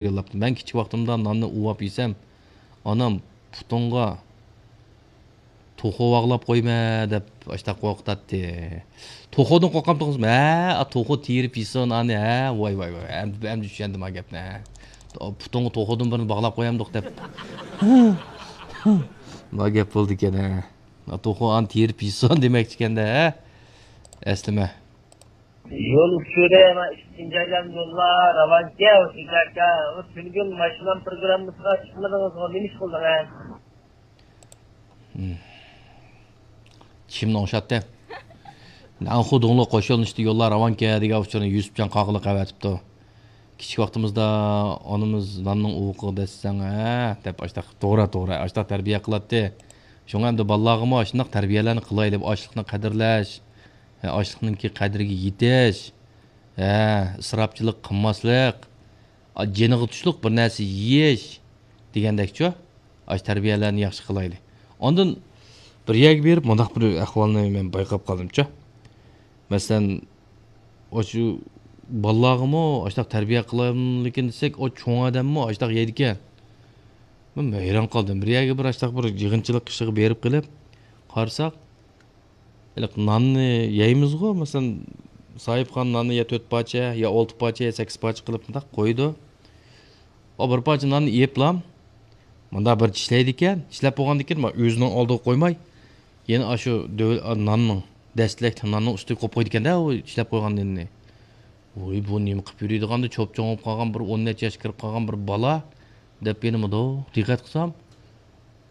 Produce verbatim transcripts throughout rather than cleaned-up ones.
يوللاپتۇ. مەن كىچىك ۋاقتىمدا ناننى ئۇۋاپ يېسەم، ئانام پۇتۇڭغا توخۇ باغلاپ قويما دەپ ئاشتاق قورقۇتاتتى. توخۇدىن قورقامتىڭىزمۇ؟ ھە، توخۇ تېرىپ يېسۇن ئانى، ھە. ۋاي، ۋاي، ۋاي، ئەمدى، ئەمدى چۈشەندىم ھا گەپنى، ھە. پۇتۇڭغا توخۇدىن بىرنى باغلاپ قويامدۇق دەپ. ما گەپ بولدىكەن، ھە. توخۇ ئانى تېرىپ يېسۇن دېمەكچىكەندە، ھە. ئەسلىمە. يول ئۇچۇرى ۋە ئىككىنچى ئايلام يوللار راۋانكەن، ھوشۇرجان ئاكا. تۈنۈگۈن ماشىنا پروگراممىسىغا چىقمىدىڭىزغۇ، نېمە ئىش قىلدىڭىز؟ چىشىمنى ئوڭشاتتى. نەنخۇ دۇڭلۇ قوش يۆنىلىشتە يوللار راۋانكەن دېگەن ئۇچۇرنى يۈسۈپجان قاقىلىق ئەۋەتىپتۇ. كىچىك ۋاقتىمىزدا ئانىمىز ناننىڭ ئۇۋىقىغا دەسسەڭ، ھە دەپ ئاشتاق، توغرا، توغرا، ئاشتاق تەربىيە قىلاتتى. شۇڭا ئەمدى بالىلارغىمۇ ئاشۇنداق تەربىيەلەرنى قىلايلى، ئاشلىقنى قەدىرلەش، ھە، ئاشلىقنىڭكى قەدرىگە يېتىش، ھە، ئىسراپچىلىق قىلماسلىق، ئا، جېنىغا تۇشلۇق بىر نەرسە يېيىش دېگەندەكچۇ؟ ئاشۇ تەربىيەلەرنى ياخشى قىلايلى. ئاندىن بىر يەرگە بېرىپ مۇنداق بىر ئەھۋالنى مەن بايقاپ قالدىمچۇ. مەسىلەن، ئاشۇ بالىلارغىمۇ ئاشۇنداق تەربىيە قىلايلىكىن دېسەك، ئۇ چوڭ ئادەممۇ ئاشۇنداق يەيدىكەن. مەن ھەيران قالدىم. بىر يەرگە بىر ئاشۇنداق بىر يىغىنچىلىق ئىشىغا بېرىپ قېلىپ قارىساق، ھېلىقى ناننى يەيمىزغۇ، مەسىلەن، ساھىبخان ناننى يا تۆت پارچە، يا ئالتە پارچە، يا سەككىز پارچە قىلىپ مۇنداق قويىدۇ. ئۇ بىر پارچە ناننى يەپلا مۇنداق بىر چىشلەيدىكەن، چىشلەپ بولغاندىن كېيىن ئۆزىنىڭ ئالدىغا قويماي، يەنە ئاشۇ دۆۋە-، ناننىڭ، دەستىلەك ناننىڭ ئۈستىگە قويۇپ قويىدىكەن-دە، ئۇ چىشلەپ قويغان نېنىنى. ۋوي، بۇ نېمە قىلىپ يۈرىدىغاندۇ، چوپ-چوڭ بولۇپ قالغان بىر ئون نەچچە ياشقا كىرىپ قالغان بىر بالا، دەپ يېنىمدا دىققەت قىلسام،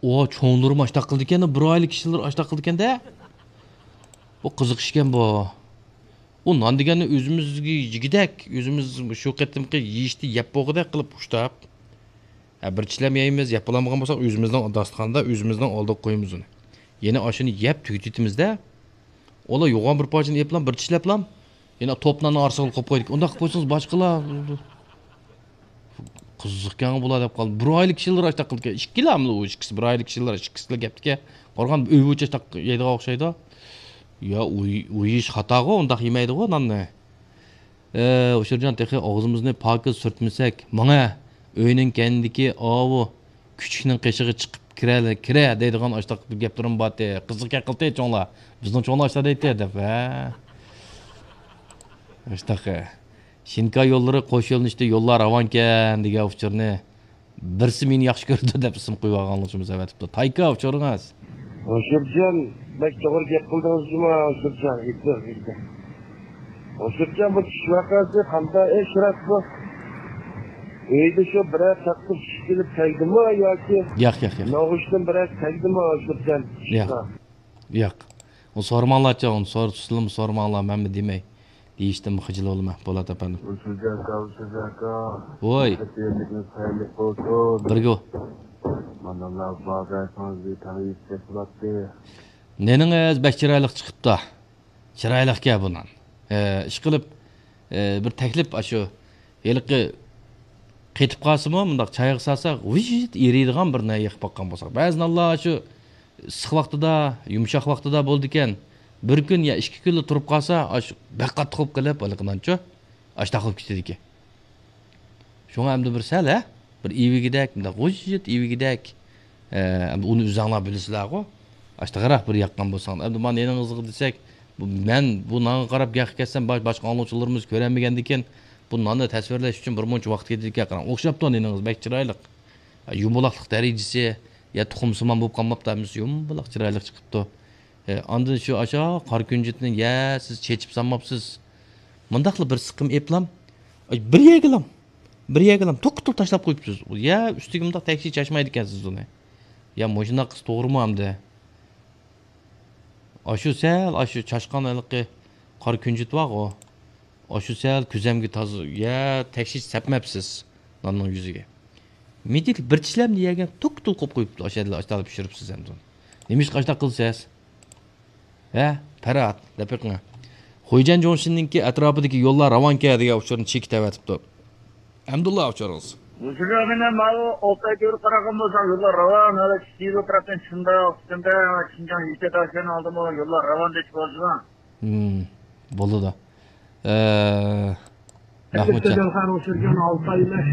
ئۇ چوڭلىرىمۇ ئاشتاق قىلىدىكەن، بىر ئايلىق كىشىلەر ئاشتاق قىلىدىكەن-دە. بۇ قىزىق ئىشكەن بۇ. ئۇ نان دېگەننى ئۆزىمىزگە يېگۈدەك، ئۆزىمىز شۇ قېتىمقى يېيىشتە يەپ بولغۇدەك قىلىپ ئۇشتاپ. ھە، بىر چىشلەم يەيمىز، يەپ بولالمىغان بولساق، ئۆزىمىزنىڭ داستىخاندا، ئۆزىمىزنىڭ ئالدىغا قويىمىز ئۇنى. يەنە ئاشۇنى يەپ تۈگىتىۋېتىمىز-دە. ئۇلار يوغان بىر پارچىنى يەپلام، بىر چىشلەپلام، يەنە توپ ناننىڭ ئارىسىغا قويۇپ قويدۇق. ئۇنداق قىلىپ قويسىڭىز، باشقىلار قىزىقكەنغۇ بۇلار دەپ قالدى. بىر ئايلىق كىشىلەر ئاشتاق قىلدىكەن. ئىككىلاملا ئۇ ئىككىسى، بىر ئايلىق كىشىلەر ئىككىسىلا گەپتىكەن. قارىغان ئۆي بويىچە ئاشتاق يەيدىغان ئوخشايدۇ. يا، ئۇ، ئۇ يېيىش خاتاغۇ، ئۇنداق يېمەيدىغۇ ناننى. ئە، ئۇشۇرجان، تېخى ئاغزىمىزنى پاكىز سۈرتمىسەك، ماڭە، ئۆينىڭ كەينىدىكى ئاۋۇ كۈچۈكنىڭ قېشىغا چىقىپ كىرە، كىرە دەيدىغان ئاشتاق بىر گەپلىرىم بارتى. قىزىق گەپ قىلتى چوڭلار. بىزنىڭ چوڭلار ئاشتا دەيتتى دەپ، ھە. ئاشتاق. شىنكا يوللىرى قوش يۆنىلىشتە يوللار راۋانكەن دېگەن ئۇچۇرنى بىرسى مېنى ياخشى كۆرىدۇ دەپ ئىسىم قويۇۋالغانلىقىمىز ئەۋەتىپتۇ. تايكا ئۇچۇرىڭىز. ھوشۇرجان، بەك توغرا گەپ قىلدىڭىز جۇما، ھوشۇرجان، ئېيتىڭ، ئېيتىڭ. ھوشۇرجان، بۇ چۈش ۋەقەسى قانداق ئىش راست بۇ؟ ئۆيدە شۇ بىرەر تاختا چۈشۈپ كېلىپ تەگدىمۇ ياكى ياق، ياق، ياق. نوغۇچتىن بىرەر تەگدىمۇ ھوشۇرجان؟ ياق. ياق. ئۇنى سورىماڭلارچۇ، ئۇنى سور-، سىلىمۇ سورىماڭلار، مەنمۇ دېمەي. دېيىشتىنمۇ خىجىل بولىمەن، بولات ئەپەندىم. ھوشۇرجان ئاكا، ھوشۇرجان ئاكا. ۋوي. خەيرلىكىڭىز خەيرلىك بولسۇن. بىرگە. مانا بارغانسىڭىز بىر تەڭ يېسەك بولاتتى. نېنىڭىز بەك چىرايلىق چىقىپتۇ. چىرايلىقكەن بۇ نان. ئە، ئىشقىلىپ، ئە، بىر تەكلىپ ئاشۇ ھېلىقى قېتىپ قالسىمۇ، مۇنداق چايغا سالساق، ۋىژىت ئېرىيدىغان بىر نان يېقىپ باققان بولساق. بەزى نانلار ئاشۇ ئىسسىق ۋاقتىدا، يۇمشاق ۋاقتىدا بولىدىكەن. بىر كۈن يا ئىككى كۈنلا تۇرۇپ قالسا، ئاشۇ بەك قاتتىق بولۇپ قېلىپ، ھېلىقى نانچۇ، ئاشتاق بولۇپ كېتىدىكەن. شۇڭا ئەمدى بىر سەل، ھە؟ بىر ئىۋىگىدەك، مۇنداق غۇژژىت ئىۋىگىدەك. ئە، ئەمدى ئۇنى ئۆزۈڭلار بىلىسىلەرغۇ. ئاشتاقراق بىر ياققان بولساڭ. ئەمدى مانا يېنىڭىزغا دېسەك، بۇ، مەن بۇ نانغا قاراپ گەپكە كەتسەم، باش-، باشقا ئاڭلىغۇچىلىرىمىز كۆرەلمىگەندىكىن، بۇ ناننى تەسۋىرلەش ئۈچۈن بىر مۇنچە ۋاقىت كېتىدىكەن. قاراڭ، ئوخشاپتۇ نېنىڭىز، بەك چىرايلىق. يۇمىلاقلىق دەرىجىسى، يا تۇخۇمسىمان بولۇپ قالماپتۇ، ھەممىسى يۇمىلاق چىرايلىق چىقىپتۇ. ئە، ئاندىن شۇ ئاشۇ قارا كۈنجۈتنى، يە، سىز چېچىپ سالماپسىز. مۇنداقلا بىر سىقىم ئېپلام، ئاي، بىر يەرگىلام، بىر يەرگىلام توكتۇل تاشلاپ قويۇپسىز. يا، ئۈستىگە مۇنداق تەكشى چاچمايدىكەنسىز ئۇنى. يا، مۇشۇنداق قىلسا توغرىمۇ ئەمدى؟ ئاشۇ سەل، ئاشۇ چاشقان ھېلىقى قارا كۈنجۈت بارغۇ. ئاشۇ سەل كۆزەمگە تازا، يا، تەكشى سەپمەپسىز ناننىڭ يۈزىگە. مىدىك بىر چىشلەمنى يەگەن توكتۇل قويۇپ قويۇپتۇ. ئاشۇ يەردە ئاشتاق پىشۇرۇپسىز ئەمدى ئۇنى. نېمىشقا ئاشتاق قىلىسىز؟ ھە، پەرھات، دەپ بېقىڭ. خۇيجەن جۇڭشىننىڭكى ئەتراپىدىكى يوللار راۋانكەن دېگەن ئۇچۇرنى چېكىتىۋېتىپتۇ. ئەمدۇللا ئۇچۇرىڭىز. مۇشۇ مەن ماۋۇ ئولتاي كۆرۈپ قارىغان بولسام، يوللار راۋان، ھالا كىچىك يول تەرەپتىن شۇنداق، شۇنداق، شىنجاڭ يېشىل تاشيولنى ئالدىمۇ يوللار راۋان دەپ بولىدۇ. ھىم، بولىدۇ. ئە، مەھمۇتجان. ئەلبەتتە، دەلخان ئۇچۇرجان ئالتاي ئەمەس.